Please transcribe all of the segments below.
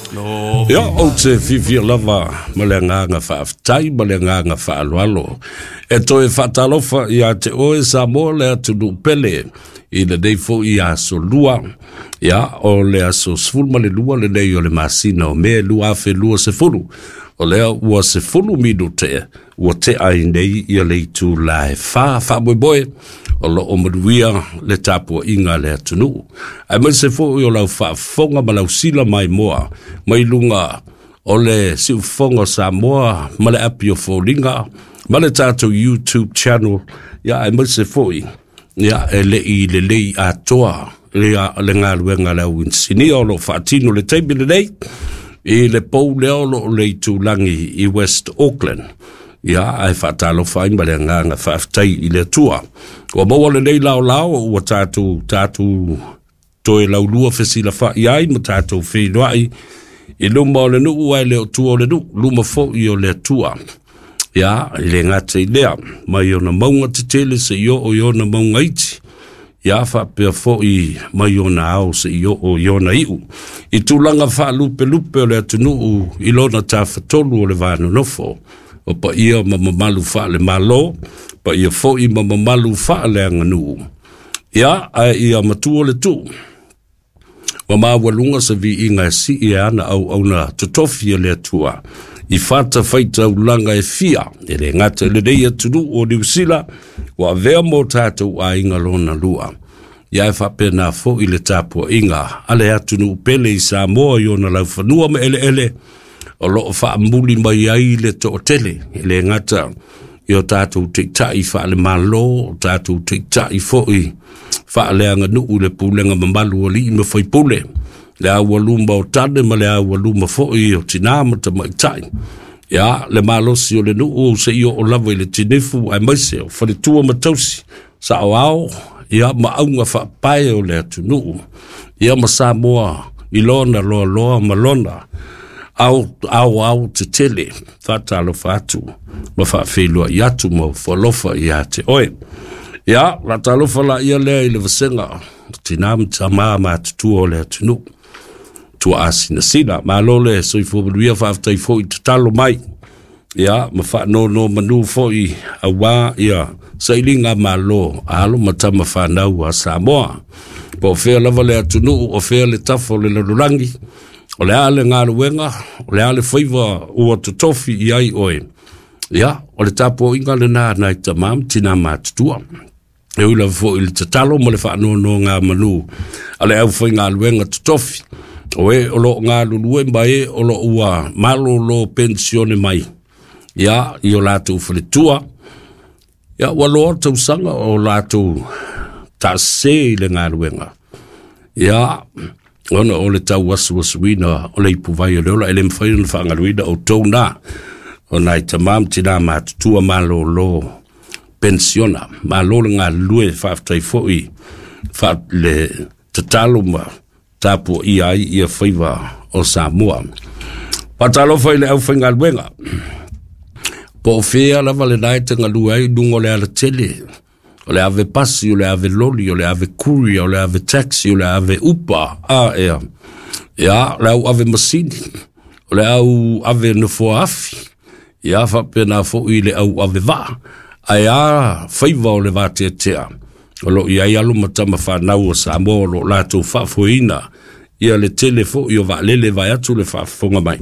Ia, ou te fiafia lava ma le agaga faafetai ma le agaga faaaloalo e toe faatalofa ia te oe Samoa le atunuu pele i lenei foi aso lua. Ia, o le aso 12 lenei o le masina o Me 2020. O lea ua 10 minute ua tea ai nei ia le itula e 4. Faamoemoe o lo o manuia le tapuaiga a le atunuu, aemaise foi o lau faafofoga ma lau sila maimoa mai luga o le siufofoga o Samoa ma le api o foliga ma le tatou YouTube channel. Ia, aemaise foi ia e le i lelei atoa ia le galuega a le au inisinia o lo o faatino le taimi lenei i le pou lea o lo o le itulagi i West Auckland. Ia, ae faatalofa ai ma le agaga faafetai i le Atua ua maua lenei laolao ua tatou toe laulua fesilafa'i ai ma tatou feiloai i luma o le nuu, ae le o tua o le nuu, luma foi o le Atua. Ia, e le gata i lea, mai ona mauga tetele seia oo i ona mauga iti, ia faapea foi mai ona ao seia oo i ona iu, i tulaga faalupelupe o le atunuu i lona tafatolu o le va nonofo, o paia ma mamalu faale-Malo, paia foi ma mamalu faaleaganuu. Ia, ae ia matua le tuu ua maualuga se viiga e sii e ana auauna totofi a le Atua i fatafaitaulaga e fia, e le gata i lenei atunuu o Niu Sila ua avea mo tatou aiga lona lua. Ia, e faapena foi le tapuaiga a le atunuu pele i Samoa i ona laufanua ma eleele o lo o faamuli mai ai le toatele, e le gata i o tatou taitai faale-Malo, o tatou taitai foi faaleaganuu i le pulega mamalu o alii ma faipule, le aualuma o tane ma le aualuma foi o tinā ma tamaitai. Ia, le malosi o le nuu seia oo lava i le tinifu, aemaise o faletua ma tausi, saoao, ia ma auga faapae o le atunuu, ia ma Samoa i lona loaloa ma lona ao ao, ao tetele. Faatalofa atu ma faafeiloai atu ma ofo alofa ia te oe. Ia, faatalofa la ia lea i le vasega tinā ma tamā matutua o le atunuu tua asinasina. Malo le soifua manuia, faafetai foi tatalo mai, ia ma faanono manu foi aua ia sailiga malo a alo ma tama fanau a Samoa. Po o fea lava le atunuu, o fea le tafa o le lalolagi, o le a le galuega, o le a le faiva ua totofi i ai oe, ia, o le tapuaiga lena nai tamā ma tinā matutua. E ui lava foi i le tatalo ma le faanonogamanu a le aufaigaluega totofi, o e o lo o galulue ma e o lo o ua malolo penisione mai, ia, i o latou faletua, ia, ua loa tausaga o latou taasese i le galuega. Ia, ona o le tauasuasuina o le ipuvai o le ola, e le mafai ona faagaluina outou na, o nai tamā ma tinā matutua malolo penisiona. Malo le galulue, faafetai foi le tatalo ma tapuaia ai ia faiva o Samoa. Faatalofa i le aufaigaluega, po o fea lava lena e te galue ai, luga o le alatele, o le ave pasi, o le ave loli, o le ave courier, o le ave taxi, o le ave Uber, a ea, ia, le au ave masini, o le au ave nofoa afi, ia faapena foi le au ave vaa, ae a faiva o le vateatea o lo o i ai alo ma tama fanau o Samoa o lo o latou faafoeina ia le tele foi o vaalele vae atu le faafofoga mai.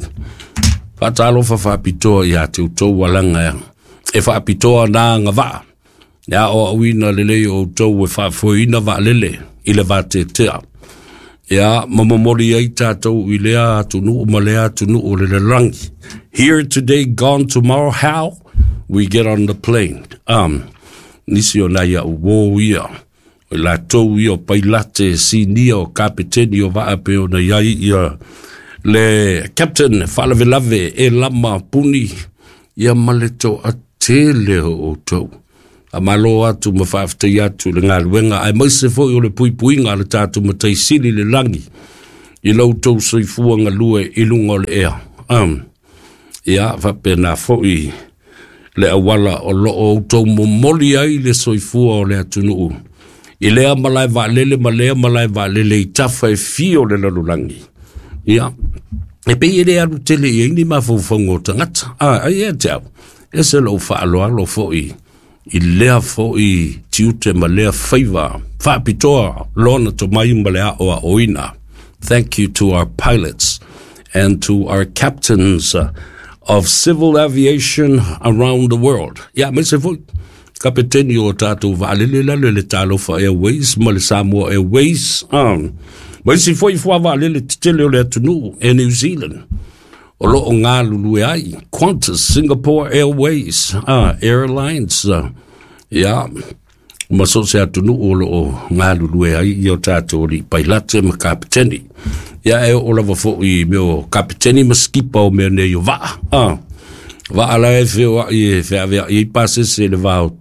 Faatalofa faapitoa ia te outou alaga e faapitoa na agavaa le aoaoina lelei o outou e faafoeina vaalele i le vateatea, ia ma momoli ai tatou i lea atunuu ma lea atunuu o le lalolagi. Here today, gone tomorrow, how we get on the plane. Nisi o nai au uō ia, o i latou ia o pailate sinia, o kapeteni o vaa, pe ona i ai ia le captain faalavelave e lama puni, ia ma le toatele o outou. Faamalo atu ma faafetai atu i le galuega, aemaise foi o le puipuiga a le tatou Matai Sili i le lagi i lo outou soifua galue i luga o le ea. Ia, faapena foi le auala o lo o outou momoli ai le soifua o le atunuu i lea malae vaalele ma lea malae vaalele i tafa e fia o le lalolagi. Ia, E pei e le alu tele i ai ni mafaufauga o tagata. Ai ia te au, e ese lou faaaloalo foi i lea foi tiute ma lea faiva faapitoa lona tomai ma le aoaoina. Thank you to our pilots and to our captains of civil aviation around the world. Ia, aemaise foi kapeteni o tatou vaalele lalo le Talofa Airways ma le Samoa Airways. Ma isi foi fua vaalele tetele o le atunuu e New Zealand o loo galulue ai, Qantas, Singapore Airways, Airlines, ia, ma so o se atunuu o loo galulue ai i o tatou alii pailate ma kapeteni. Ia, e oo lava foi i mea o kapeteni ma skipa o mea nei o vaa. Vaa la e feoai e feaveai ai pasese i le va o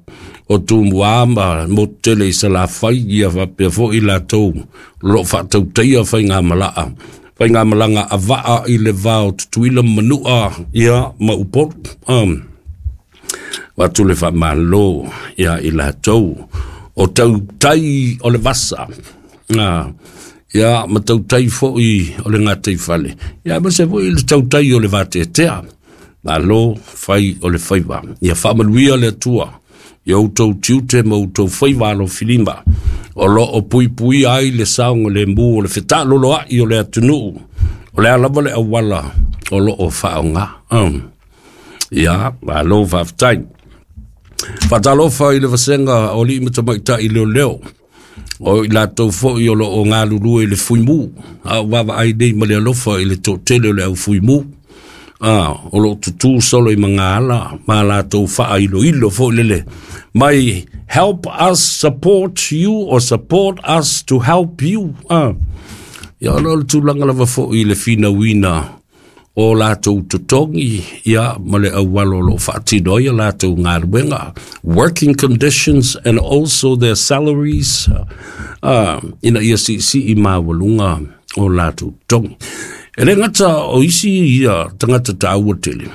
Tumua ma motu tele i Salafai, ia faapea foi latou o loo faatautaia faigamalaga a vaa i le va o Tutuila ma Manua, ia, ma Upolu. Avatu le faamalo ia i latou o tautai o le vasa, ia, ma tautai foi o le gataifale, ia, aemaise foi le tautai o le vateatea. Malo fai o le faiva. Ia faamanuia le Atua i outou tiute ma outou faiva alofilima o loo puipuia ai le saogalemu o le fetaaloloai o le atunuu, o le a lava le auala o loo faaaoga. Ia, malo faafetai. Faatalofa i le vasega o alii ma tamaitai leoleo, o i latou foi o loo galulue i le fuimu, a o vaavaai nei ma le alofa i le toatele o le au fuimu, o loo tutū solo i magaala ma latou faailoilo foi lele mai, help us support you or support us to help you. Ia, o le tulaga lava foi i le finauina o latou totogi, ia, ma le auala o loo faatino ai a latou galuega, working conditions and also their salaries, ina ia siisii maualuga o latou totogi. E le gata o isi ia tagata taua tele,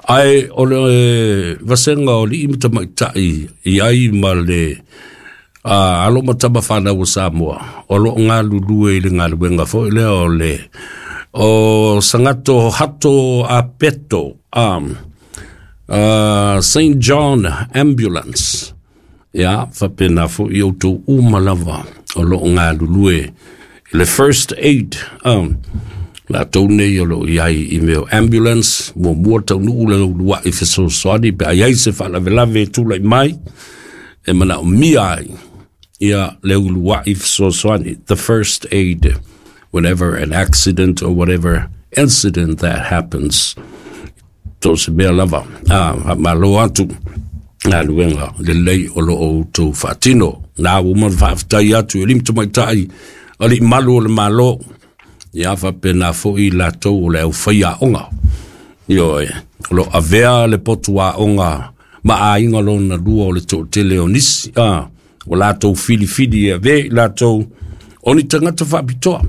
ae o le vasega o alii ma tamaitai i ai ma le alo ma tama fanau o Samoa o loo galulue i le galuega foi lea o le o Sagato Hato Apeto, St. John Ambulance. Ia, faapena foi outou uma lava o loo galulue i le first aid, latou nei o loo i ai i mea o ambulance, muamua taunuu le uluai fesoasoani pe a i ai se faalavelave e tulai mai e manaomia ai ia le uluai fesoasoani, the first aid whenever an accident or whatever incident that happens, to se mea lava. Faamalo atu galuega lelei o loo outou faatino. Na ua ma faafetai atu i alii ma tamaitai, alii malu o le Malo, ia, faapena foi latou o le aufai aoga, ioe, o loo avea le potu aoga ma aiga lona lua o le toatele o nisi, ua latou filifili e ave i latou o ni tagata faapitoa.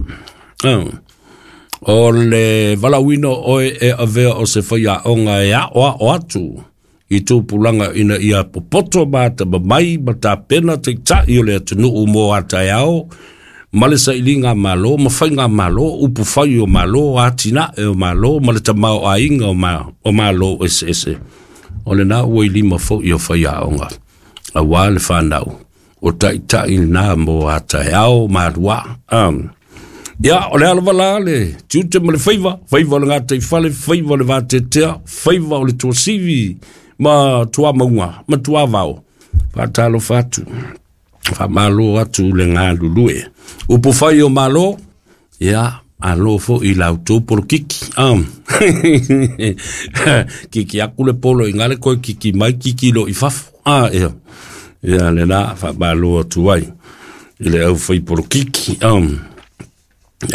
O le valaauina o oe e avea o se faiaoga e aoao atu i tupulaga ina ia popoto ma atamamai ma tapena taitai o le atunuu mo a taeao, ma le sailiga malo ma faiga malo, upu fai o malo, atinae o malo ma le tamaoaiga o malo eseese. O lena ua i lima foi o faiaoga aua le fanau o taitai lena mo a taeao malua. Ia, o le alava la le tiute ma le faiva, faiva o le gataifale, faiva o le vateatea, faiva o le tuasivi ma tuamauga ma tuavao. Faatalofa atu, faamalo atu le galulue. Upu fai o malo, ia, malo foi i la outou polokiki. Kiki aku le polo i ngale koe kiki mai kiki lo i fafo. Ia, ia lena faamalo atu ai i le au fai polokiki.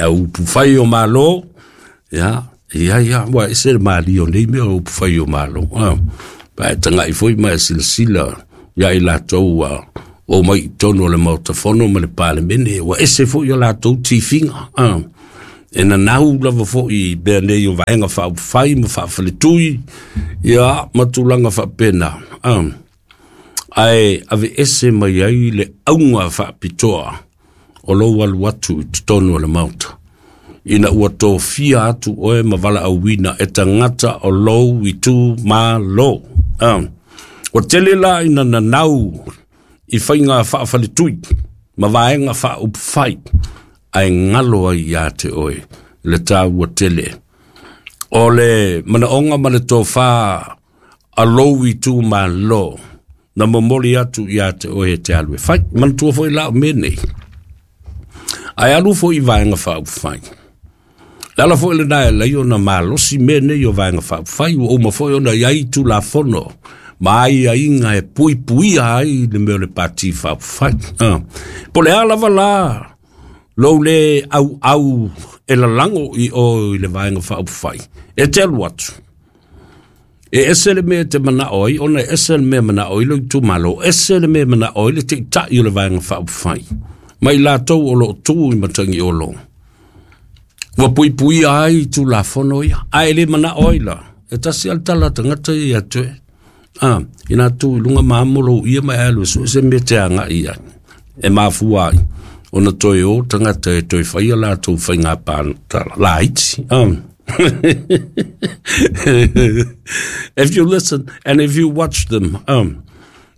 Au upu fai o malo, ia, ia, ia, ua ese le malie o nei mea o upu fai o malo. Pa e tagai foi ma e silasila ia i latou ua o mai i totonu o le Maota Fono ma le Palemene, ua ese foi o latou tifiga. E nanau lava foi i mea nei o vaega faaupufai ma faafaletui, ia, ma tulaga faapena. Ae aveese mai ai le auga faapitoa o lou alu atu i totonu o le Maota. Ina ua tofia atu oe ma valaauina e tagata o lou itumalo. Ua tele la ina nanau i faiga faafaletui ma vaega faaupufai, ae galo ai ia te oe le taua tele o le manaoga ma le tofā a lou itumalo na momoli atu ia te oe e te alu e fai. Manatua foi la o mea nei, ae alu foi i vaega faaupufai. Le ala foi lena e alai ona malosi mea nei o vaega faaupufai, ua uma foi ona i ai Tulafono ma aiaiga e puipuia ai le mea o le pati faaupufai. Po o le a lava la lou lē auau e lalago i o i le vaega faaupufai, e te alu atu, e ese le mea e te manao ai, ona e ese le mea e manao ai lou itumalo, ese le mea e manao ai le taitai o le vaega faaupufai, ma i latou o lo o tu i Matagiolo. Ua puipuia ai Tulafono ia, ae le manao ai la, e tasi lava le tala a tagata ia ia te oe. Ina tu i luga ma amo lou ia ma e alu e sue se mea e te agai i ai. E mafua ai ona toe o tagata e toe faia latou faiga palota laiti. If you listen and if you watch them,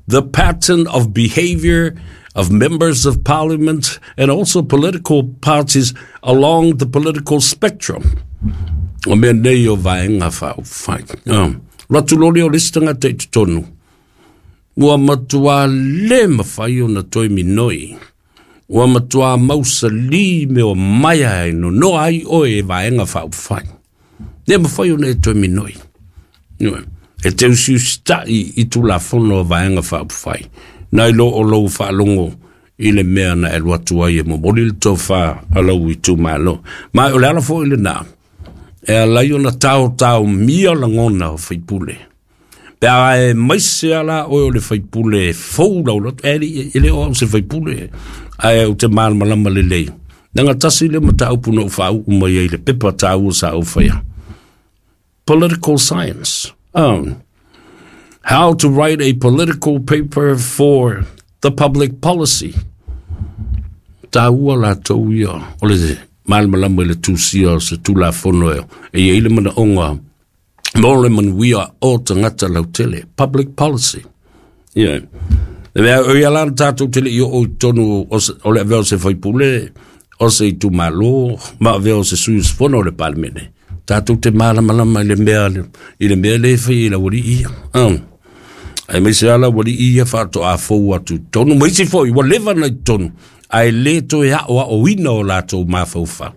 the pattern of behavior of members of parliament and also political parties along the political spectrum. O mea nei o vaega faaupufai. Alu atu loa lea o le isi tagata i totonu, ua matua le mafai ona toe minoi. Ua matua mausali mea o maea e nonoa ai oe e vaega faaupufai. Le mafai ona e toe minoi. E te usiusitai i Tulafono a Vaega Faaupufai, nai lo o lou faalogo i le mea na e alu atu ai e momoli le tofa a lou itumalo. Ma o le ala foi lena e ala ai ona taotaomia lagona o faipule. Pe a aemaise lava la oe o le faipule e fou lau loto, e le o au se faipule, ae ou te malamalama lelei. Leaga tasi lea mataupu na ou faauu mai ai i le pepa taua sa ou faia. Political science. How to write a political paper for the public policy. Taua latou ia o le malamalama i le tusia o se Tulafono e i ai le manaoga mo le manuia o tagata lautele. Public policy. Yeah. Le mea, o ia la na tatou te le i oo i totonu o le avea o se faipule, o se itumalo, ma avea o se sui usufono o le Palemene. Tatou te malamalama i le mea, i le mea lea e fai e le aualii ia. Aemaise lava le aualii ia faatoa fou atu i totonu, ma isi foi ua leva ona i totonu, ae le toe aoaoina o latou mafaufau.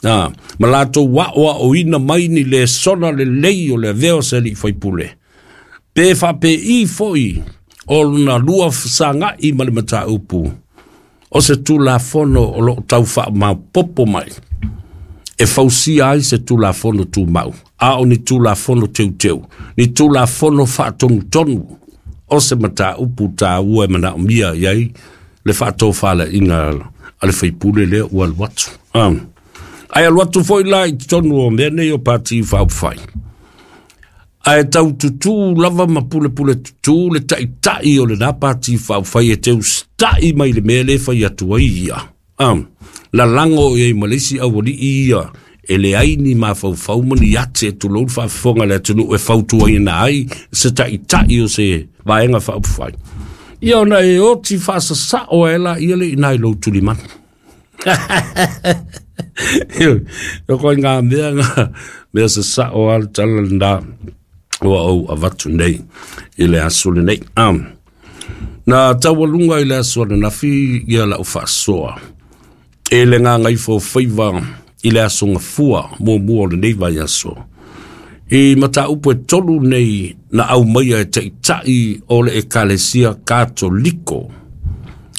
Ma latou aoaoina mai ni lesona lelei o le avea o se alii faipule. Pe faapei foi o lona lua fesagai ma le mataupu o se Tulafono o lo o tau faamaopoopo mai e fausia ai se Tulafono Tumau, a o ni Tulafono Teuteu, ni Tulafono Faatonutonu o se mataupu taua e manaomia i ai le faatofalaiga a le faipule lea ua alu atu. Ae alu atu foi la i totonu o mea nei o Pati Faaupufai, ae tau tutū lava ma pulepule tutū le taitai o lena Pati Faaupufai e te usitai mai le mea lea e fai atu ai ia. Lalago i ai ma le isi aualii ia e leai ni mafaufau ma ni ate, tulou le faafofoga a le atunuu, e fautuaina ai se taitai o se Vaega Faaupufai. Ia ona e oti faasasao ai laia le i ina i lou tulimanu. O koe ngā mea, ngā mea sasao a le tala lena ua ou avatu nei i le aso lenei. Na taualuga i le aso ananafi ia lau faasoa e le gagaifo faiva i le aso gafua muamua o lenei vaiaso. I mataupu e tolu nei na aumaia e taitai o le Ekalesia Katoliko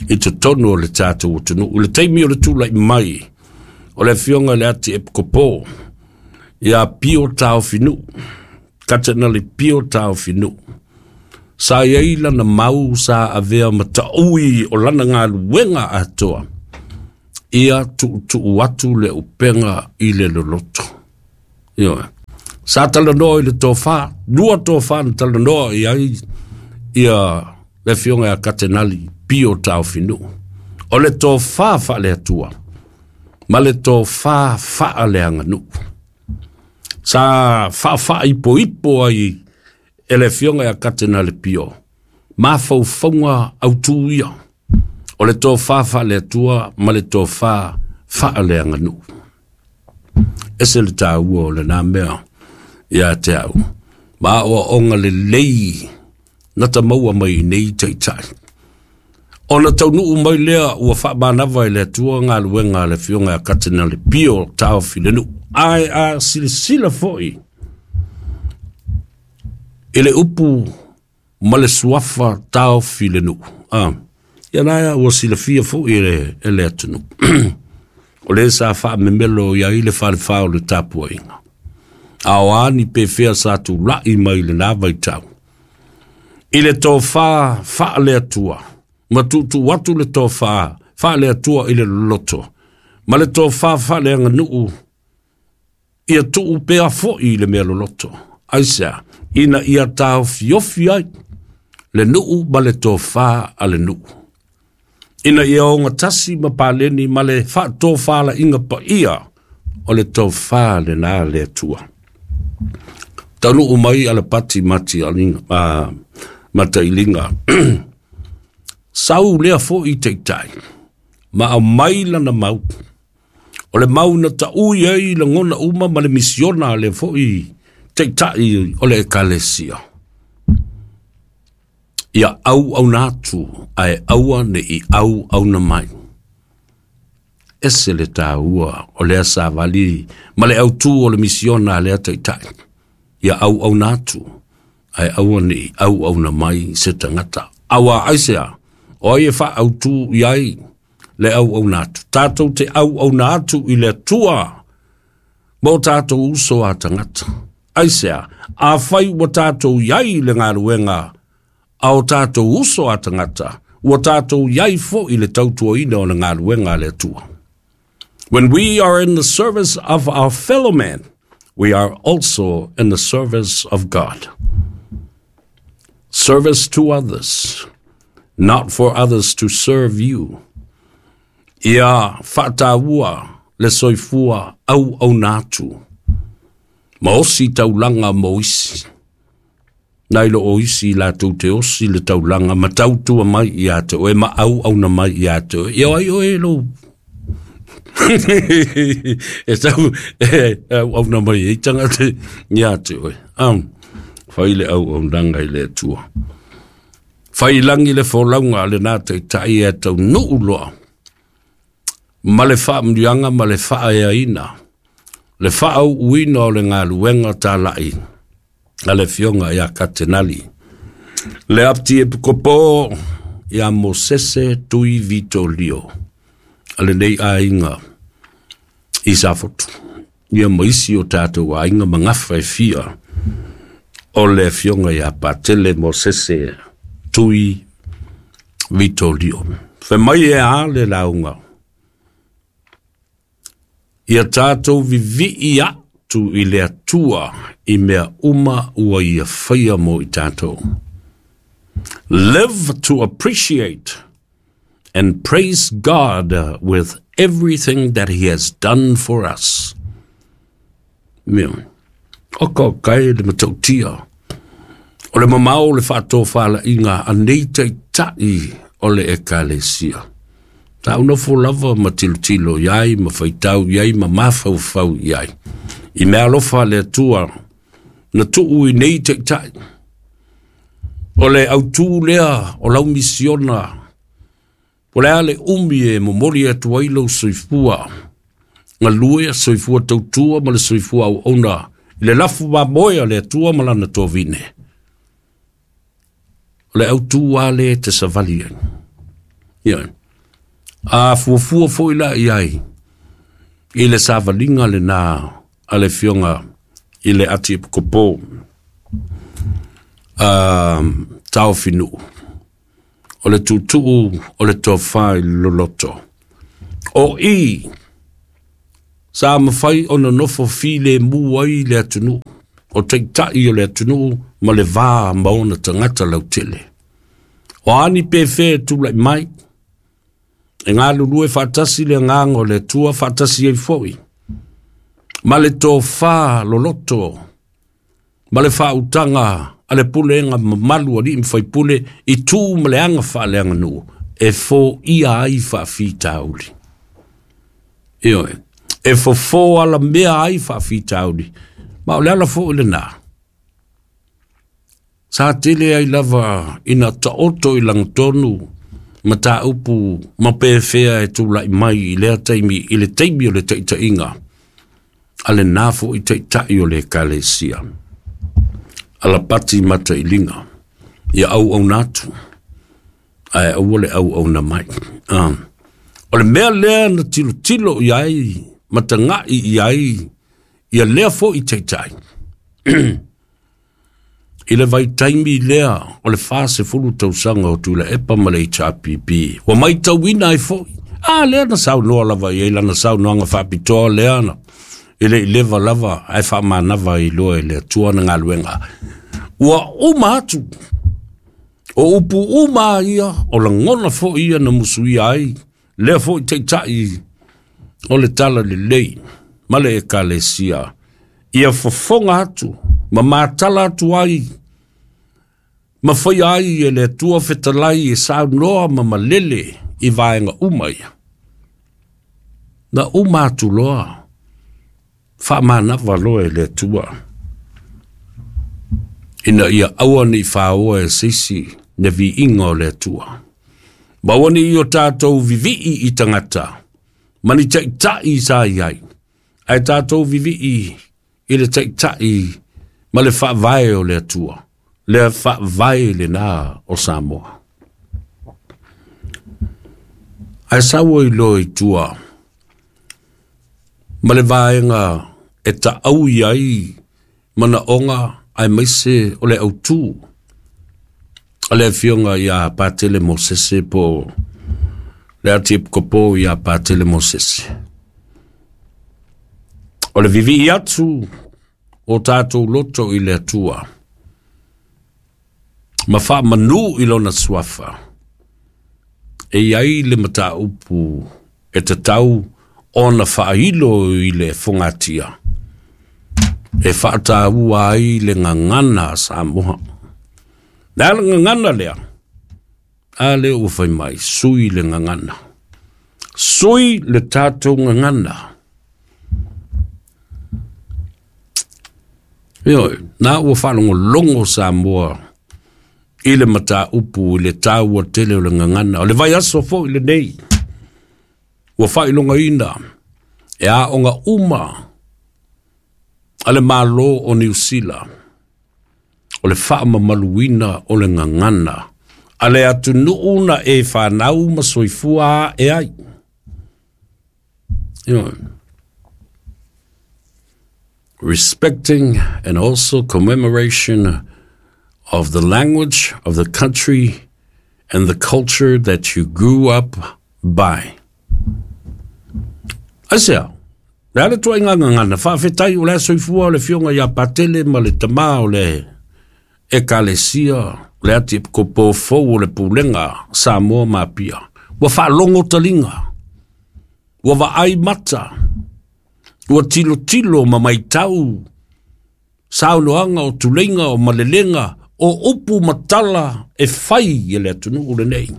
i totonu o le tatou atunuu. I le taimi o le tulai mai o le afioga i le Ati Epikopo ia Pio Taofinuu, Katenale Pio Taofinuu, sa i ai lana mau sa avea ma taui o lana galuega atoa, ia tuutuu atu le upega i le loloto. Ioe. Sa talanoa i le tofa, lua tofa na talanoa i ai ia le afioga ia Katenali Pio Taofinuu. O le tofa faale-Atua. ma le tofā faaleaganuu. Sa faafaaipoipo ai e le Afioga ia Katenale Pio mafaufauga autū ia o le tofā faale-Atua ma le tofā faaleaganuu. Ese le tāua o lenā mea ia te au. Ma aoaoga lelei na ta maua mai i nei taitai. Ona taunuu mai lea ua faamanava e le Atua galuega a le Afioga ia Katenale Pio Taofi le nuu. Ae a silasila foi i le upu ma le suafa Taofi le nuu. Ia na ua silafia foi e le atunuu. O le sa faamemelo i ai le falefā o le tapuaiga. A o a ni pefea sa tula'i mai lenā vaitau. I le tofā faale-Atua, ma tuutuu atu le tofā faale-Atua i le loloto, ma le tofā faaleaganuu ia tuu pea foi i le mea loloto. Aisea, ina ia taofiofi ai le nuu ma le tofā a le nuu. Ina ia ogatasi ma paleni ma le faatofalaiga paia o le tofā lenā le Atua. Taunuu mai Alapati Matailiga. Sau lea foi taitai, ma aumai lana mau. O le mau na taui ai lagona uma ma le misiona a lea foi taitai o le Ekalesia. Ia auauna atu ae aua ne i auauna mai. Ese le tāua o lea savali ma le autū o le misiona a lea taitai. Ia auauna atu ae aua ne i auauna mai se tagata. Auā aisea, o ai e faautū i ai le auauna atu. Tātou te auauna atu i le Atua ma o tātou uso a tagata. Aisea, afai ua tātou i ai le galuega a o tātou uso a tagata, ua tātou i ai foi le tautuaina o le galuega a le Atua. When we are in the service of our fellow man, we are also in the service of God. Service to others, not for others to serve you. Ia faataua le soifua auauna atu. Ma osi taulaga mo isi. Nai lo o isi latou te osi le taulaga ma tautua mai ia te oe ma auauna mai ia te oe. Ia ai oe lou e tau e auauna mai ai tagata ia te oe. Fai le auaunaga i le Atua. Fai lagi le folauga a lenā taitai e taunuu loa. Ma le faamanuiaga ma le faaeaina. Le faaauuina o le galuega talai a le Afioga ia Katenali. Le Apti Epikopo ia Mosese Tui Vitolio a lenei aiga i Safotu. Ia ma isi o tātou aiga ma gafa e fia o le Afioga ia Patele Mosese Tui Vitolio. Fai mai e a le lauga. Ia tātou vivii atu i le Atua i mea uma ua ia faia mo i tātou. Live to appreciate and praise God with everything that he has done for us. Mea, o ka kai le matautia. O le mamao le faatofalaiga a nei taitai o le Ekalesia. Sa ou nofo lava ma tilotilo i ai, ma faitau i ai, ma mafaufau i ai. I mea alofa a le Atua na tuu i nei taitai. O le autū lea o lau misiona, po o le a le umi e momoli atu ai lou soifua, galue, soifua tautua ma le soifua auauna i le lafu mamoe a le Atua ma lana tovine. O le autū lava lea e te savali ai. Ioe. A fuafua foi la i ai i le savaliga lenā a le Afioga i le Atiepikopo Taofinuu, o le tuutuu o le tofa i le loloto. O i sa mafai ona nofo filemu ai le atunuu, o taitai o le atunuu ma le va ma ona tagata lautele. O a ni pefea e tulai mai, E galulue faatasi le agaga o le Atua faatasi ai foi ma le tofa loloto ma le faautaga a le pulega mamalu a alii ma faipule i tu ma le aga faaleaganuu e foia ai faafitauli. Ioe, e fofo alamea ai faafitauli, ma o le ala foi lenā. Sa tele ai lava ina taoto i lagatonu mataupu ma pefea e tulai mai i lea taimi, i le taimi o le taitaiga a lenā foi taitai o le Ekalesia, Alapati Matailiga, ia auauna atu, ae aua le auauna mai. O le mea lea na tilotilo i ai ma tagai i ai ia lea foi taitai i le vaitaimi lea o le 40 tausaga o Tuilaepa ma le HRPP, ua maitauina ai foi, a lea na saunoa lava i ai lana saunoaga faapitoa lea na e le i leva lava ae faamanava ai loa e le Atua na galuega. Ua uma atu o upu uma ia, o lagona foi ia na musuia ai lea foi taitai o le tala lelei ma le Ekalesia, ia fofoga atu ma matala atu ai ma faia ai e le Atua fetalai e saunoa ma malele i vaega uma ia. Na uma atu loa, faamanava loa e le Atua, ina ia aua ne i faoa e se isi le viiga o le Atua. Ma aua ne i o tatou vivii i tagata, ma ni taitai sa i ai, ae tatou vivii i le taitai ma le faavae o le Atua, le faavae lenā o Samoa. Ae sau ai loa i tua ma le vaega e taau i ai manaoga aemaise o le autū a le afioga ia Patele Mosese po le Atiepikopo ia Patele Mosese. O le vivii atu o tatou loto i le Atua ma faamanu i lona suafa, e i ai le mataupu e tatau ona faailo i le fogatia e faataua ai le gagana a Samoa. Le a le gagana lea? A lea ua fai mai, sui le gagana. Sui le tatou gagana. Ioe, na ua faalogologo Samoa i le mataupu i le taua tele o le gagana. O le vaiaso foi lenei, ua faailogaina e aoga uma a le Malo o Niu Sila, o le faamamaluina o le gagana a le atunuu na e fanau ma soifua ae ai. Ioe. Respecting and also commemoration of the language of the country and the culture that you grew up by. Aisea, le a le tuaiga gagana, faafetai o le a soifua o le afioga ia Patele ma le tamā o le Ekalesia, le Atiepikopo fou o le Pulega Samoa ma Apia. Ua faalogo taliga, ua vaai mata, ua tilotilo ma maitau saunoaga o tuleiga o malelega o upu ma tala e fai e le atunuu lenei.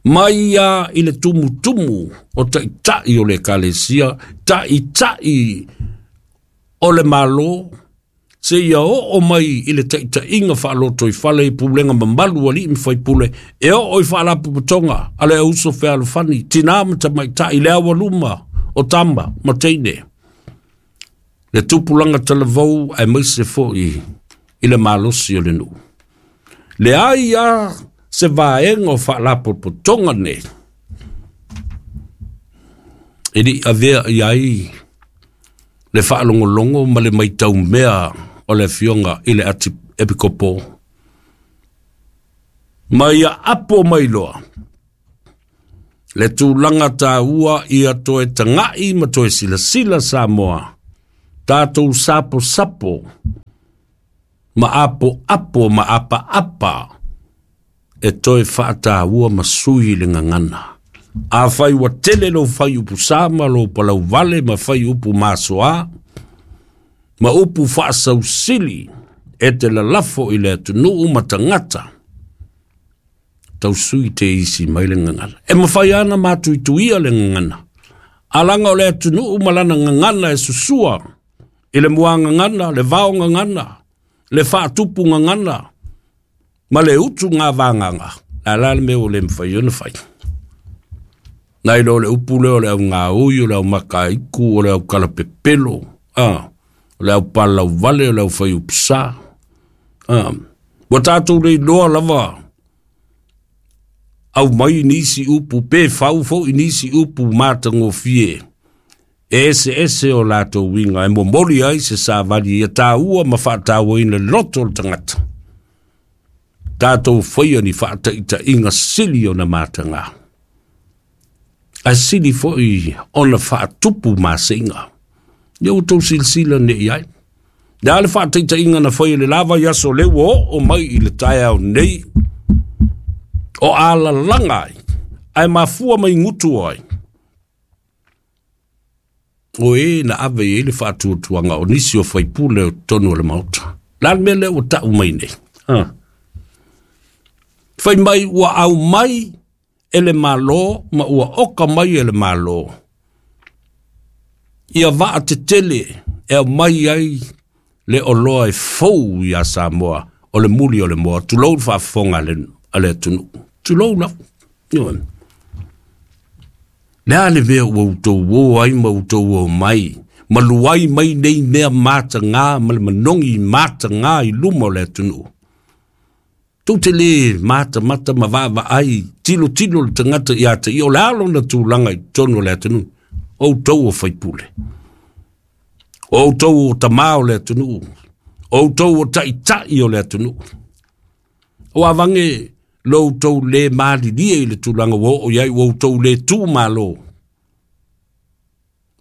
Mai ia i le tumutumu o taitai o le Ekalesia, taitai o le Malo, seia oo mai i le taitaiga faalotoifale i pulega mamalu a alii ma faipule, e oo i faalapotopotoga a le auso fealofani, tinā ma tamaitai, le aualuma o tama ma teine, le tupulaga talavou aemaise foi i le malosi o le nuu. Leai a se vaega o faalapotopotoga nei e le i avea i ai le faalogologo ma le maitau mea o le afioga i le Atiepikopo ma ia apo mai loa le tulaga taua ia toe tagai ma toe silasila Samoa, tatou saposapo ma apoapo ma apaapa e toe faataua ma sui le gagana. Afai ua tele lou faiupu sa ma lou palauvale ma faiupu masoa ma upu faasausili e te lalafo i le atunuu ma tagata, tausui te isi mai le gagana. E mafai ana matuituia le gagana. Alaga o le atunuu ma lana gagana e susua i le muagagana, le vaogagana, le faatupugagana, ma le utu gavagaga, la la le mea ua le mafai ona fai. Nai lo le upu lea o le augaui, o le aumakaiku, o le aukalapepelo, o le aupalauvale, o le aufaiupusa. Ua tatou leiloa lava au mai nisi upu, pe fau foi nisi upu matagofie, e ese ese o latou uiga, e momoli ai se savali ia tāua ma faatauaina loto o le tagata. Tatou faia ni faataitaiga sili ona mataga, ae sili foi ona faatupu maseiga. Ia ua tou silasila nei ai. Le a le faataitaiga na fai e le lava i aso lea ua oo mai i le taeao nei, o alalaga ai, ae mafua mai gutu ai. O e na ave i ai le faatuatuaga o nisi o faipule o totonu o le Maota. La le mea lea ua tau mai nei. Fai mai ua au mai e le Malo ma ua oka mai e le Malo ia vaa tetele e au mai ai le oloa e fou ia Samoa o le muli o le moa. Tulou le faafofoga a le atunuu. Tulou lava. Le a le mea ua outou o ai ma outou o mai, ma luai mai nei mea mataga ma le manogi mataga i luma o le atunuu. Tou te le matamata ma vaavaai tilotilo le tagata ia te ia, o le a lona tulaga i totonu o le atunuu. O outou o faipule, o outou o tamā o le atunuu, o outou o taitai o le atunuu. O avange lo outou le malilie i le tulaga ua oo i ai, ua outou le tu malo.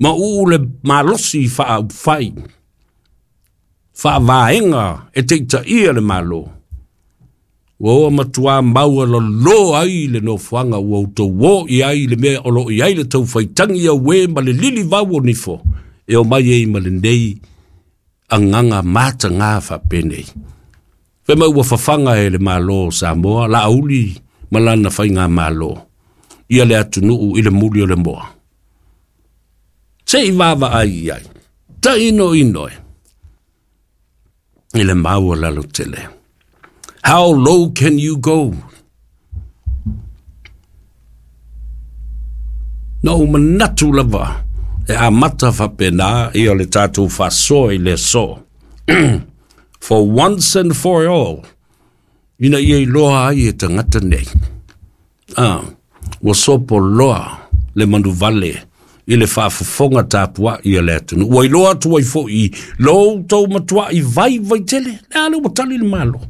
Ma uu le malosi faaupufai, faavaega e teitaia le Malo. Ua oa matua maua lalo ai le nofoaga ua outou o i ai le mea o lo o i ai le taufaitagi au e ma le lili vau o nifo, e o mai ei ma lenei agaga mataga faapenei. Fai mai ua fafaga e le Malo o Samoa, Laauli ma lana faigamalo, ia le atunuu i le muli o le moa. Se i vaavaai i ai, tainoino e, i le maua lalo tele. How low can you go? Na ou manatu lava e amata faapena ia le tatou faasoa i le aso. For once and for all, ina ia iloa ai e tagata nei. Ua sopo loa le manuvale i le faafofoga tapuai a le atunuu. Ua iloa atu ai foi lo outou matuai vaivai tele. Le a le ua tali le Malo.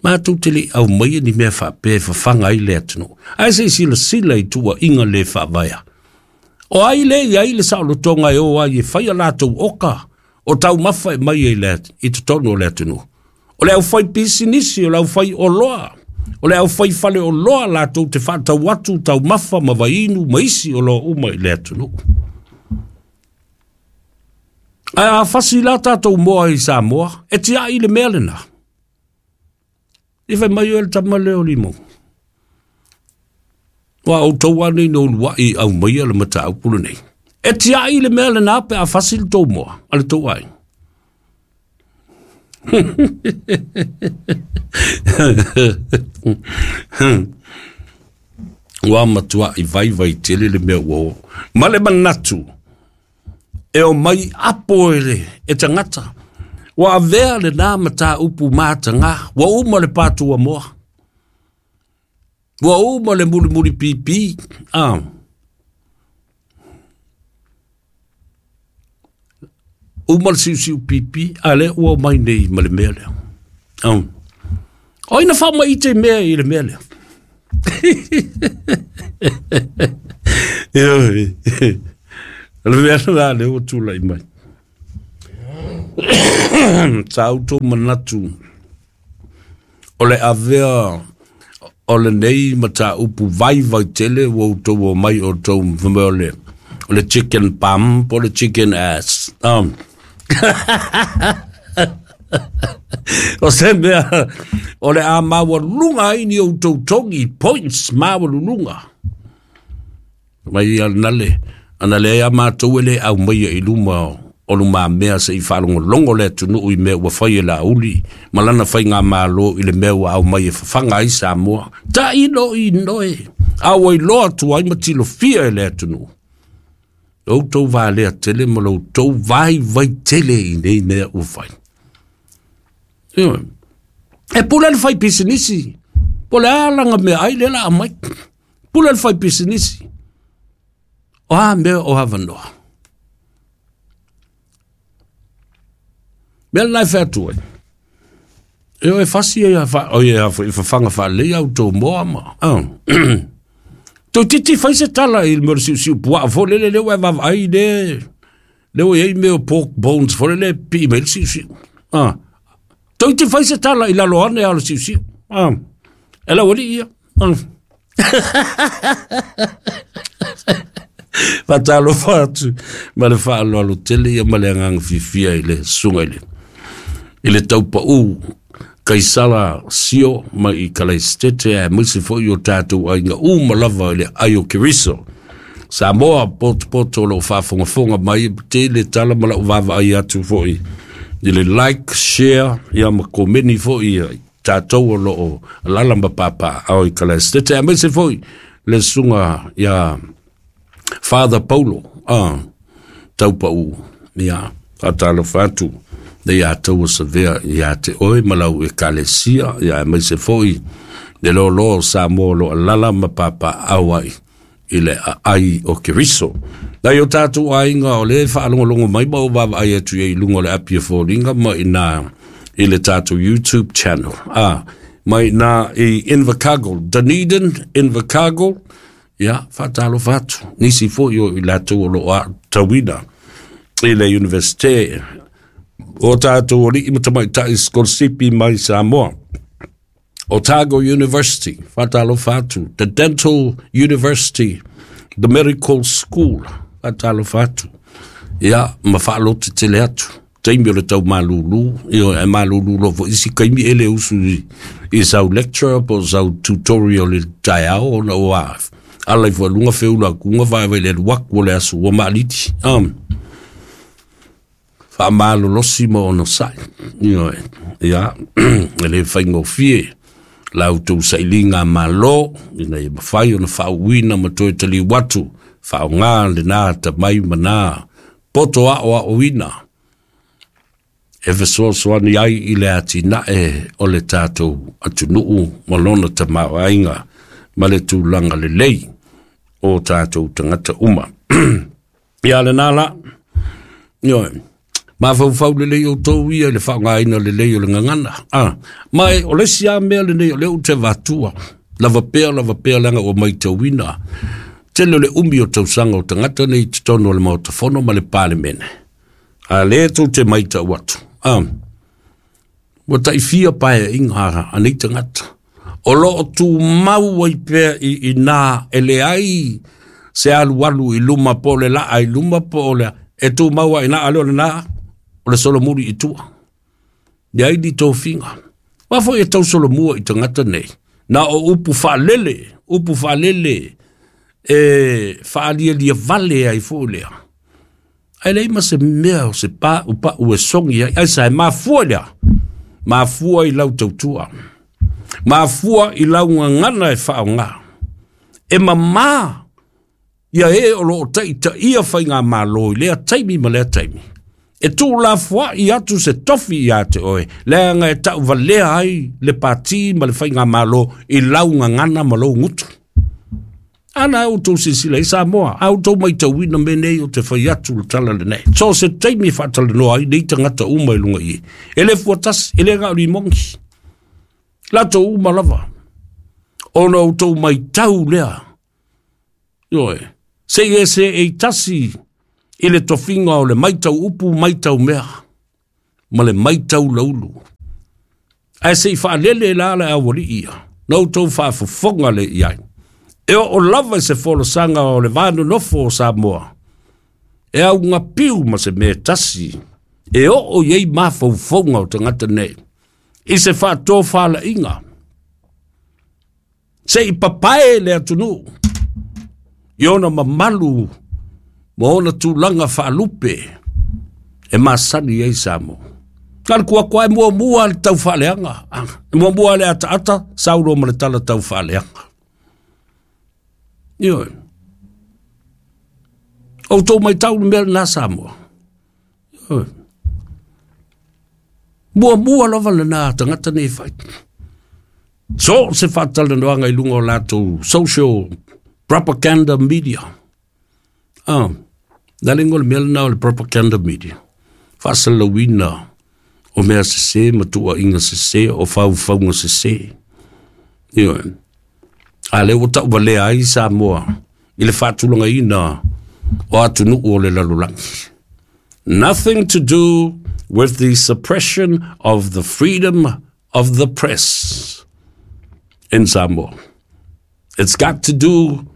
Matou te le au mai ni mea faapea e fafaga ai le atunuu. Ae se i silasila i tuuaiga le faavaea. O ai le i ai le saolotoga e o ai e fai a latou oka o taumafa e mai ai i totonu o le atunuu. O le aufai pisinisi, o le aufai oloa, o le aufai fale oloa latou te faatau atu taumafa ma vainu ma isi oloa uma i le atunuu. Ae a fasi la tatou moa i Samoa, e tiai le mea lena. I fai mai o le tama lea o Limau. Ua outou ane no uluai au mai le mataupu lenei. E tiai le mea lena pe a fasi le tou moa, a le tou ai. Ua matua i vaivai tele le mea ua o. Ma le manatu, e o mai apo e le e tagata. Ua avea le nā mataupu mataga, ua uma le pātua moa. Ua uma le mulimuli pipi. Uma le siusiu pipi, a le ua mai nei ma le mea lea. O ina faamaite mea i le mea lea. Le mea la le ua tulai mai. Sa outou manatu o le avea O lenei mataupu vaivai tele ua outou omai outou fai mai o le chicken bum po o le chicken ass. O se mea o le a maualuga ai ni outou togi points maualuluga. Mai ia nale, ana leai a matou e le aumaia i luma o lumamea se i faalogologo le atunuu i mea ua fai e Laauli ma lana faigamalo i le mea ua aumai e fafaga ai Samoa. Tailo i noe, a ua iloa atu ai ma tilofia e le atunuu. Lo outou valea tele ma lo outou vaivai tele i nei mea ua fai. Ioe. E pule le fai pisinisi, po o le a lana meaai lea o le a aumai. Pule le fai pisinisi. O a mea o avanoa? Mea lena e fai atu ai. E o e fasi ai a o ia foi fafaga faalelei au tou moa ma. Toeitiiti fai se tala i le mea o le siusiu puaa foi lele lea ua e vaavaai le lea ua i ai mea o pork bones foi lele e pipii mai ai le siusiu. Toeitiiti fai se tala i lalo ane lava o le siusiu. E lau alii ia. Faatalofa atu ma le faaaloalo tele ia ma le agaga fiafia i le susuga i le taupau Kaisara Sio mai i Kalaisitete aemaise foi o tatou aiga uma lava i le ai o Keriso. Samoa potopoto o lo o faafogafoga mai, tele tala ma lau vaavaai atu foi i le like, share ia ma komeni foi ia tatou o lo o alaala ma papaaao i Kalaisitete aemaise foi le susuga ia Father Paulo Taupau ia faatalofa atu le ia taua savea ia te oe ma lau ekalesia ia aemaise foi le loaloa o Samoa o lo o alaala ma papaaao ai i le aai o Keriso. Nai o tātou aiga o le faalogologo mai ma o vaavaai atu i luga o le api e foliga ma ina i le tātou YouTube channel. Mai nā i Invercargill, Dunedin, Invercargill, ia, faatalofa atu. Nisi foi o i latou o lo o aotauina i le Universite o tātou alii ma tamaitai sikolasipi mai Samoa. Otago University, faatalofa atu. The Dental University, the Medical School, faatalofa atu. Ia, ma faalotetele atu. Taimi o le tau malūlū, ioe, ae malūlū loa foi isi taimi e le usu i sau lecture po o sau tutorial i le taeao ona ua ala ifo i luga feula atu vaevae i le alu atu o le aso ua maaliti. Faamalolosi ma onosai. Ioe, ia, e le faigofie la outou sailiga malo ina ia mafai ona faauuina ma toe taliu atu faaaoga lena atamai ma na poto aoaoina e fesoasoani ai i le atinae o le tatou atunuu ma lona tamaoaiga ma le tulaga lelei o tatou tagata uma. Ia lena la, ioe, mafaufau lelei outou ia i le faaaogaina lelei o le gagana. Ma e, o le isi lava mea lenei o lea ou te avatua, lava pea, lava pea leaga ua matauina tele o le umi o tausaga o tagata nei i totonu o le Maota Fono ma le Palemene. A lea tou te matau atu, ua taifia paeaiga a nei tagata. O lo o tumau ai pea i ina e leai se alualu i luma po o le laa i luma po o le e tumau ai ina, a le o lena o le solomuli i tua. Leai ni tofiga. Aua foi e tausolomua i tagata nei, na o upu faalele, upu faalele e faalialia vale ai foi lea. Ae leai ma se mea o se paupau e sogi ai, ai sa e mafua lea, mafua i lau tautua, mafua i lau gagana e faaaoga, e mamā ia e o lo o taitaia faigamalo i lea taimi ma lea taimi. E tuulafoai atu se tofi ia te oe, leaga e tauvalea ai le pati ma le faigamalo i lau gagana ma lou gutu. Ana e outou silasila i Samoa, a outou matauina mea nei ou te fai atu le tala lenei. So o se taimi e faatalanoa ai nei tagata uma i luga i i. E le fuatasi, e le na o limogi. Latou uma lava. Ona outou matau lea. Ioe, se i e seei tasi i le tofiga o le matau upu, matau mea, ma le matau laulu. Ae se i faalele la le aualii ia. Na outou faafofoga lea i ai. E oo lava i se folasaga o le va nonofo o Samoa, e augapiu ma se mea tasi, e oo i ai mafaufauga o tagata nei, i se faatofalaiga, se i papae le atunuu, i ona mamalu ma ona tulaga faalupe e masani ai Samoa. Na le kuakua e muamua le tau faaleaga, e muamua le ataata, saulo ma le tala tau faaleaga. Ioe. Outou maitau le mea lena Samoa. Ioe. Muamua lava lena tagata nei fai. So se faatalanoaga i luga o latou social propaganda media. Ah, na le le mea lena o le propaganda media. Faasalalauina o mea sese ma tuuaiga sese o faufauga sese. Ioe. A lea ua tauvalea ai Samoa i le faatulagaina o atunuu o le lalolagi. Nothing to do with the suppression of the freedom of the press in Samoa. It's got to do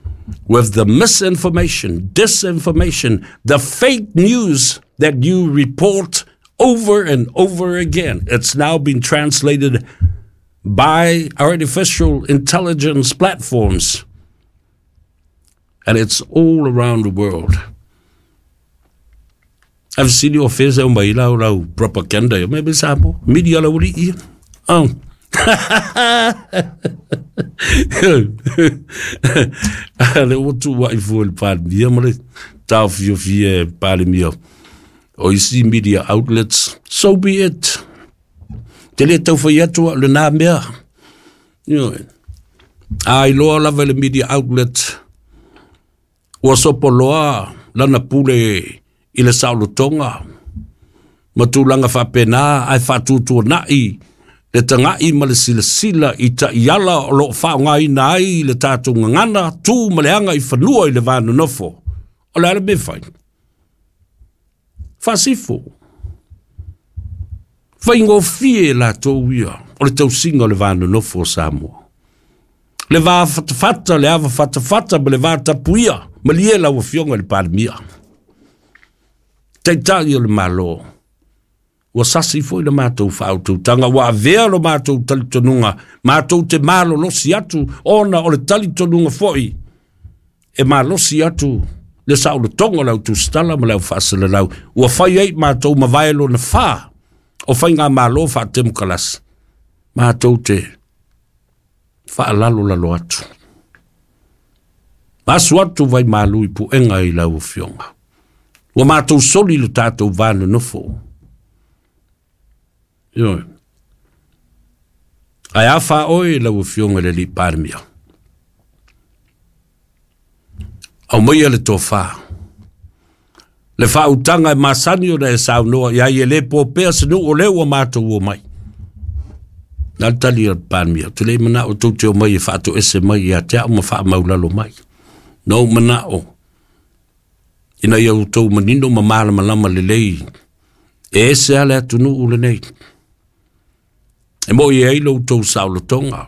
with the misinformation, disinformation, the fake news that you report over and over again. It's now been translated by artificial intelligence platforms, and it's all around the world. I've seen your face o mai lau lau propaganda. Maybe Samoa, media lau ri ia. Oh. Le ua tuuaʻi fua i le Palemia ma le taofiofia e Palemia o isi media outlets, so be it. Te le taufai atu au lenā mea. Ioe. A iloa lava i le media outlet, ua sopoloa lana pule i le saolotoga ma tulaga faapena ae faatuatuanai le tagai ma le silasila i taiala o loo faaaogaina ai le tatou gagana tu ma le aga i fanua i le va nonofo. O le a le mea fai? Faasifo. Faigofie latou ia o le tausiga o le va nonofo o Samoa. Le va fatafata, le ava fatafata ma le va tapuia, malie lau afioga i le Palemia. Taitai o le Malo, ua sasi foi le matou faautautaga, ua avea lo matou talitonuga, matou te malolosi atu, ona o le talitonuga foi, e malosi atu le saolotoga o le autusitala ma le au faasalalau, ua fai ai matou mavae lona fa o faigamalo faatemokalasi, matou te faalalolalo atu. Asu atu vai malu i puega i lau afioga. Ua matou soli le tatou va nonofo. Ioe. Ae a fa oe lau afioga i le alii Palemia. Aumaia le tofa. Le faautaga e masani ona e saunoa i ai e le popea se nuu o lea ua matou omai. Na le tali a le Palemia, ou te le manao tou te omai e faatoese mai ia te au ma faamaulalo mai. Na ou manao ina ia outou manino ma malamalama lelei e ese lava le atunuu lenei. E moi ai lo outou saolotoga.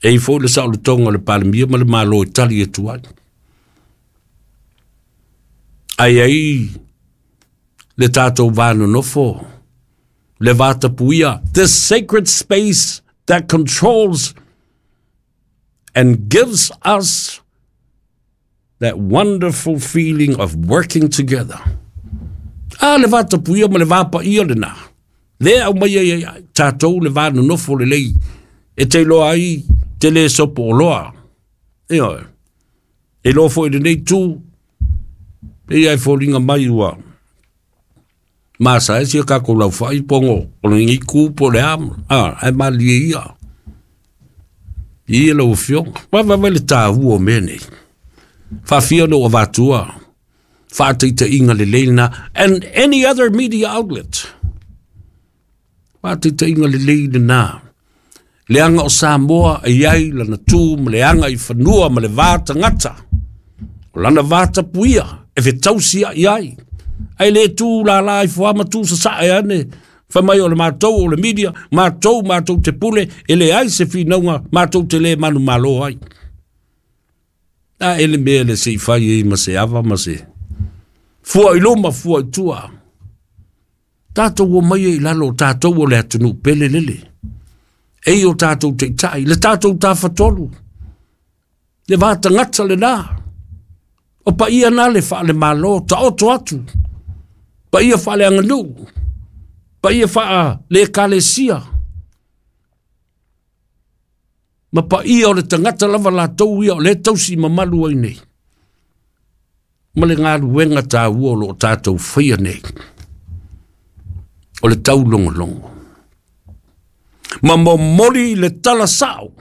E i foi le saolotoga o le Palemia ma le Malo e tali atu ai. Ai ai le tatou va nonofo, le va tapuia, this sacred space that controls and gives us that wonderful feeling of working together. A le va tapuia ma le va paia lena. Le au mai ai ai tatou le va nonofo lelei e te iloa ai te le sopo oloa. Ioe. E iloa foi lenei tu, e ia e foliga mai ua masa e sia kākou laufai pongo o le ngi ku po le am. A, e malie ia. Ia lau afioga. Wa wa le tāua o mea nei. Faafia ona ua avatua faataitaiga lelei lena and any other media outlet. Faataitaiga lelei lena. Leaga o Samoa e i ai lana tu ma le aga i fanua ma le va tagata. O lana va tapuia e fetausiaʻi ai. Ae le tu lala ifo lava ma tu sasae ane. Fai mai o le matou o le media, matou matou te pule, e leai se finauga, matou te le manumalo ai. A e le mea le se i fai ai ma se ava ma se fua i luma, fua i tua. Tatou omai ai i lalo o tatou o le atunuu pele lele. E i o tatou taitai, le tatou tafatolu, le va tagata lena. O paia na le faalemalo, taoto atu, paia faaleaganuu, paia faale-ekalesia, ma paia o le tagata lava latou ia o lea e tausi mamalu ai nei, ma le galuega taua o lo o tatou faia nei, o le taulogologo. Ma momoli le tala sao.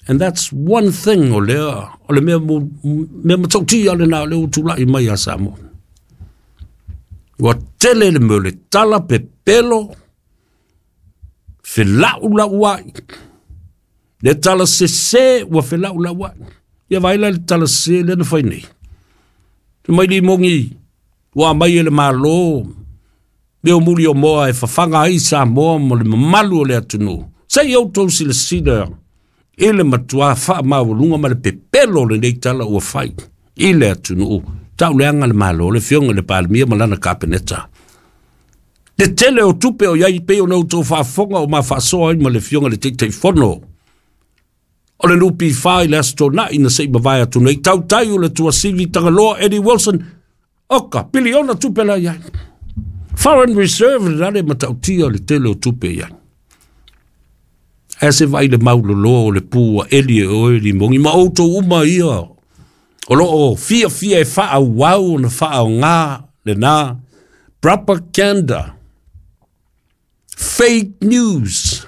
And that's one thing o lea, o le mea, mea matautia lena o lea ua tulai mai ia Samoa. Ua tele le mea o le tala pepelo, felaulau ai. Le tala sese ua felaulau ai. Ia vaai la le tala sese lea na fai nei. Te mai limogi ua mai e le Malo, mea o muli o moa e fafaga ai Samoa mo le mamalu o le atunuu. Se i outou silasila i le matua faamaualuga ma le pepelo o lenei tala ua fai i le atunuu. Tauleaga le Malo, le afioga i le Palemia ma lana Kapeneta. Le tele o tupe o iai pei ona outou faafofoga o ma faasoa ai ma le afioga i le Taitaifono o le NPF i le Aso Toonai na se i mavae atu nei, tautai o le Tuasivi Tagaloa Eddie Wilson, oka, piliona tupe la iai. Foreign reserve le le matautia le tele o tupe iai. Ae se vaai le mauloloa o le pu ua eli e oe limogi ma outou uma ia o lo o fiafia e faaauau ona faaaoga lena propaganda, fake news,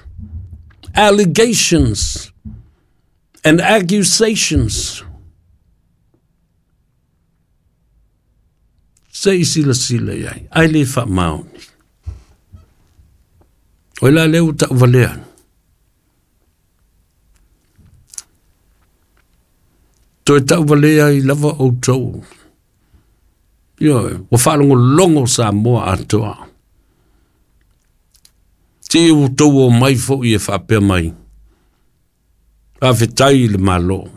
allegations and accusations. Se i silasila i ai, ai le faamaoni. O la lea ua tauvalea. Toe tauvalea ai lava outou. Ioe, ua faalogologo Samoa atoa. Ti outou o mai foi e faapea mai. Faafetai i le Malo.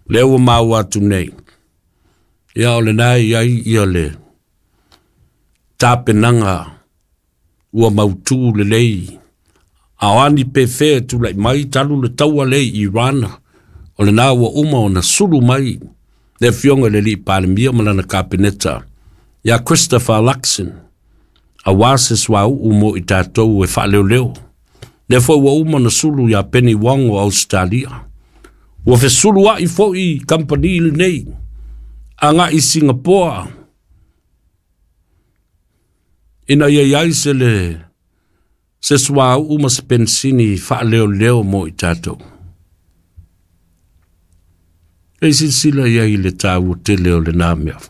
Lea ua maua atu nei. Ia o lena e i ai ia le tapenaga ua mautu lelei. A o ani pe fea e tulai mai talu le taua lea i Iran, o lena ua uma ona sulu mai le afioga i le alii Palemia ma lana Kapeneta ia Christopher Luxon, aua se suauu mo i tatou e faaleoleo. Lea foi ua uma ona sulu ia Penny Wong o Australia. Ua fesuluai foi kamupani lenei agai i Singapoa ina ia i ai se le se suauu ma se penisini faaleoleo mo i tatou. E silasila i ai i le taua tele o lena mea.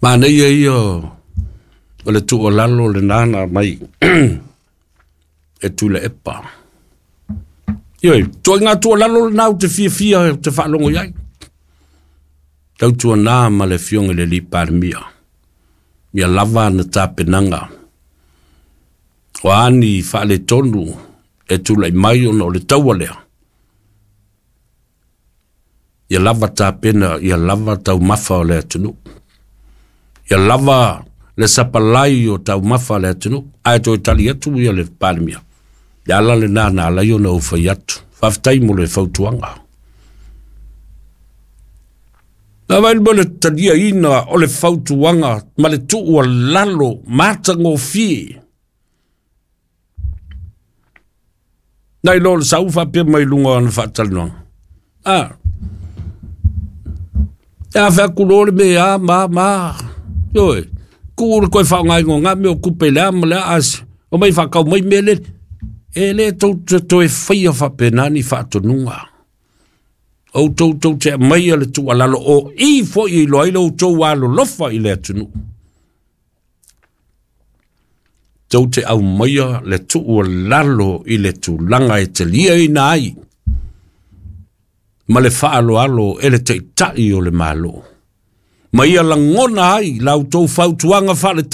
Manaia ia o le tuualalo lena na mai e Tuilaepa. Ioe, ituaiga tuualalo lena ou te fiafia ou te faalogo i ai. Tautuana ma le afioga i le alii Palemia. Ia lava ana tapenaga. O a ni faaletonu e tulai mai ona o le taua lea. Ia lava tapena, ia lava taumafa o le atunuu. Ia lava le sapalai o taumafa o le atunuu. Ae toe tali atu ia le Palemia. Le ala lena na ala ai ona ou fai atu. Faafetai mo le fautuaga. Na vai mo le taliaina o le fautuaga ma le tuualalo matagofie. Nai lo le sau faapea mai luga o ana faatalanoaga. A, e a fai atu loa le mea a ma ma. Ioe, tuu le koe faaaogaina o ngā mea o tupe le a ma le a as, o mai faatau mai mea lele. E le tou te toe faia faapena ni faatonuga. Outou tou te aumaia le tuualalo o i foi e iloa ai lo outou alolofa i le atunuu. Tou te aumaia le tuualalo i le tulaga e taliaina ai ma le faaaloalo e le taitai o le Malo. Ma ia lagona ai la outou fautuaga faale.